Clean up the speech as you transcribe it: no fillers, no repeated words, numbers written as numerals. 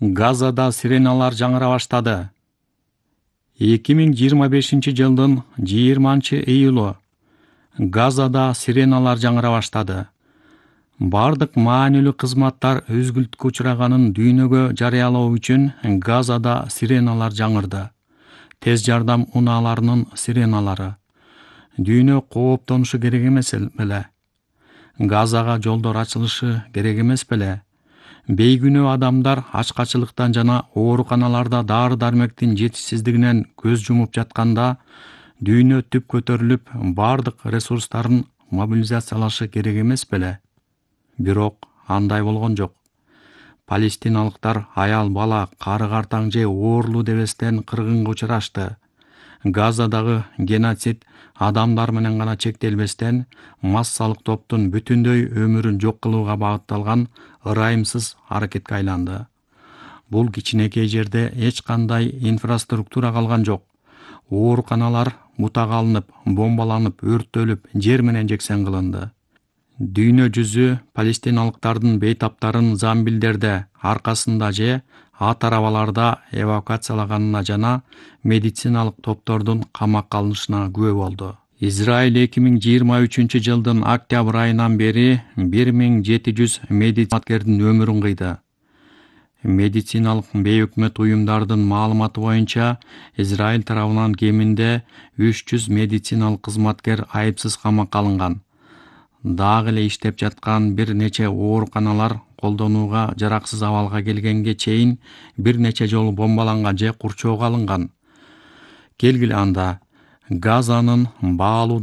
Газада сиреналар жаңыра баштады. 2025-жылдын 20-июлу Газада сиреналар жаңыра баштады. Бардык маанилүү кызматтар өзгүлткө учраганын дүйнөгө жарыялоо үчүн Газада сиреналар жаңырды. Тез жардам унааларынын сиреналары. Дүйнө кооптонушу керек эмес беле? Газага жолдор ачылышы керек эмес беле? Бейгүнөө адамдар ачкачылыктан жана ооруканаларда дары-дармектин жетишсиздигинен көз жумуп жатканда, дүйнө түп көтөрүлүп, бардык ресурстарын мобилизациялашы керек эмес беле? Бирок андай болгон жок. Палестиналыктар аял бала, кары картаң же оорлуу дебестен кыргынга учурашты. Газадагы геноцид адамдар менен гана чектелбестен, массалык топтун бүтүндөй өмүрүн жок кылууга багытталган ырайымсыз аракетке айланды. Бул кичинекей жерде эч кандай инфраструктура калган жок. Ооруканалар бутага алынып, бомбаланып, өрттөлүп, жер менен жексен кылынды. Дүйнө жүзү палестиналыктардын бейтаптарын замбилдерде аркасында же ат арабаларда эвакуациялаганына жана медициналык топтордун камакка алынышына күбө болду. Израиль 2023-жылдын октябрь айынан бери 1700 медицинадкердин өмүрүн кыйды. Медициналык бейөкмөт уюмдардын маалыматы боюнча, Израиль тарабынан кеминде 300 медициналык кызматкер айыпсыз камакка алынган. Дагы эле иштеп жаткан бир нече ооруканалар колдонууга жараксыз абалга келгенге чейин бир нече жолу бомбаланган же курчоого алынган. Келгиле анда Газанын баалуу